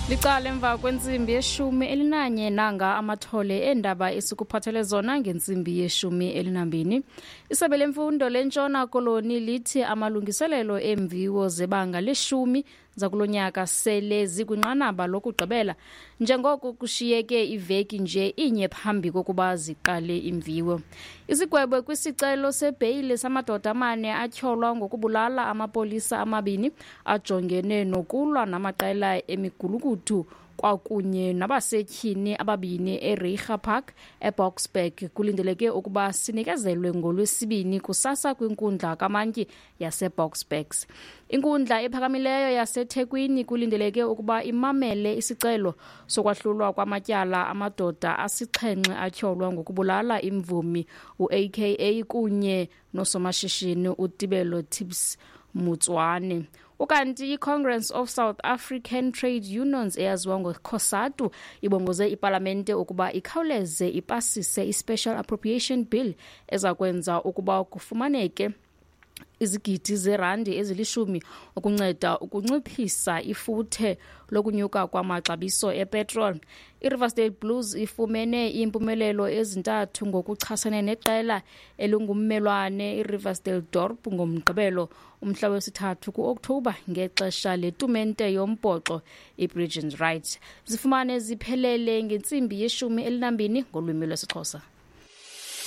Licala emva kwentsimbi yeshumi elinanye, nanga amathole eendaba esikuphathele zona ngentsimbi yeshumi elinambini. Isebe lemfundo leNtshona Koloni lithi amalungiselelo eemviwo zebanga leshumi zakulo nyaka sele zikwinqanaba lokugqibela, njengoko kushiyeke iveki nje inye phambi kokuba ziqale imviwo. Isigwebo kwisicelo sebheyile samadoda amane atyholwa ngokubulala amapolisa amabini ajongene nokulwa namaqela emigulukudu kwakunye nabasetyhini ababini eReiger Park eBoksburg kulindeleke ukuba sinikezelwe ngoLwesibini kusasa kwinkundla kamantyi yaseBoksburg. Inkundla ephakamileyo yaseThekwini kulindeleke ukuba imamele isicelo sokwahlulwa kwamatyala amadoda asixhenxe atyholwa ngokubulala imvumi uAKA kunye nosomashishini uTibelo Tips Mutswane. Ukanti i-Congress of South African Trade Unions, eyaziwa ngoCOSATU, ibongoze ipalamente ukuba ikhawuleze ipasise i-Special Appropriation Bill eza kwenza ukuba kufumaneke izigidi zerandi ezilishumi ukunceda ukunciphisa ifuthe lokunyuka kwamaxabiso epetrol. I-Riversdale Blues ifumene iimpumelelo ezintathu ngokuchasene neqela elingummelwane iRiversdale Dorp ngoMgqibelo umhla wesithathu ku-Okthobha ngexesha letumente yombhoxo iBridge and Right. Zifumane ziphelele ngentsimbi yeshumi elinambini ngolwimi lwesiXhosa.